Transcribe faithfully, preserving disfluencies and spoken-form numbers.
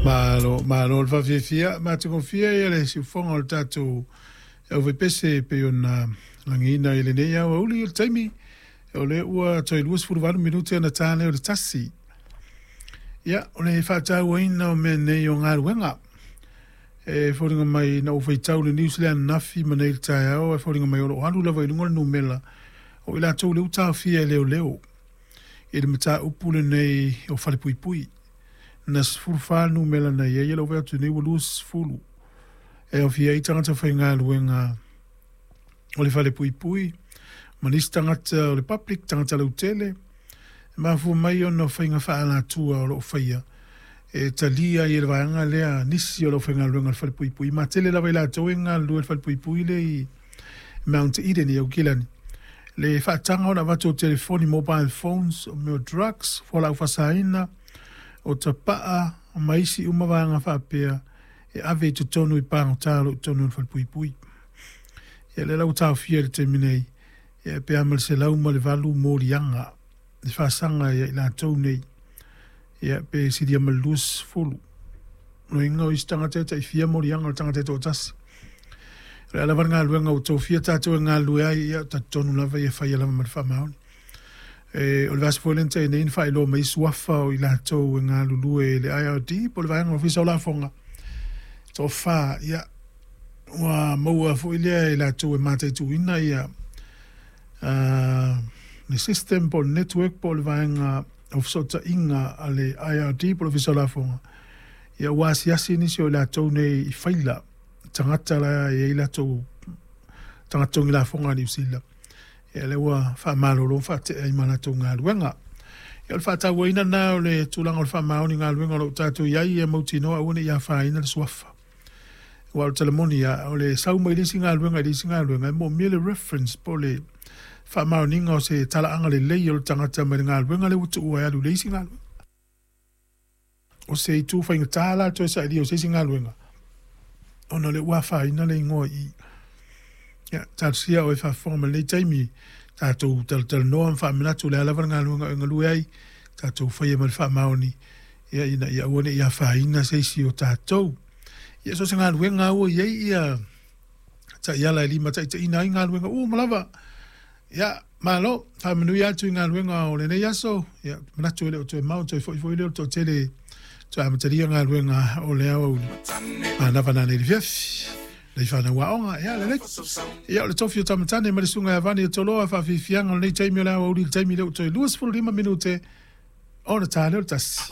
Malo, malo le faafiafia matagofie ia le siufofoga o le tatou aufaipese e pei ona lagiina i lenei aoauli. O le taimi o lea ua toe luasefuluvalu minute ona ta lea o le tasi. Ia, o le faatauaina o mea nei o galuega e foliga mai na ou faitau i le news lea ananafi ma nei i le taeao, e foliga mai o lo o alu lava i luga le numera o i latou lea ua taofia e leoleo i le mataupu lenei o falepuipui. Na sefulufa le numera na i ai, o lea ua vaai atu nei ua luasefulu e aofia ai tagata faigaluega o le falepuipui ma nisi tagata o le public, tagata lautele, e mafua mai ona o faiga faaalatua o lo o faia e talia ai e le vaega lea nisi o le aufaigaluega o le falepuipui. Ma tele lava i latou e galulue i le falepuipui lea i Mount Eden i Aukilani, le faataga ona avatu o telefoni, mobile phones, o mea o drugs, fualaau faasaina, o tapaa ma isi uma vaega faapea e ave i totonu i pagota o lo o i totonu o le falepuipui. Ia lea la ua taofia i le taimi nei, ia pe a ma le selau ma le valu moliaga le faasaga ia i latou nei, ia pe silia ma le luasefulu. O lona uiga o isi tagata e tai fia moliaga o le tagata e toatasi. O le a lava le galuega ua tofia tatou e galulue ai, ia talitonu lava ia faia lava ma le faamaoni. E, o le vaiaso foi lea na tea nei na faailoa mai suafa o i latou e galulue i le I R D po o le vaega Ofisa o Lafoga, toafa, ia, ua maua foi lea e latou e mataituina ia uh, le system po o le network po o le vaega o fesootaiga a le I R D po o le Ofisa o Lafoga. Ia ua asiasi nisi o i latou nei i faila tagata la e i ai latou tagata togi lafoga a Niu Sila. Ia lea ua faamalolo faatea ai ma latou galuega. Ia o le faatauaina lena o le tulaga o le faamaoni galuega o lo o tatou i ai, ia mautinoa aua ne i afaina le suafa. Aua o le tala moni lava, o le sau mai le isi galuega i le isi galuega, e moomia le reference po o le faamaoniga o se talaaga lelei o le tagata mai le galuega lea ua tuua e alu i le isi galuega. O se itu faigata la le toe sailia o se isi galuega, ona o lea ua afaina le igoa i i. Ia, talosia oe faafofoga mai lenei taimi, tatou talatalanoa ma faamanatu o le a lava le galuega e galue ai, tatou faia ma le faamaoni, ia ina ia aua ne i afaina se isi o tatou. Ia so o se galuega lava ua i ai ia taiala e limataitaiina ai galuega uma lava. Ia, malo, faamanuia atu i galuega o lenei aso. Ia, manatu e le o toe mao, toe foi foi lea o le toatele toe amatalia galuega o le aoauli. Manava nanei le fiafi. Lei whanau aoga, ia lelei. Ia o le tofi o Tamatane ma le susuga ia Vani o Toloa faafiafiaga o lenei taimi o le aoauli i le taimi lea ua toe luasefulu lima minute ona ta lea o le tasi.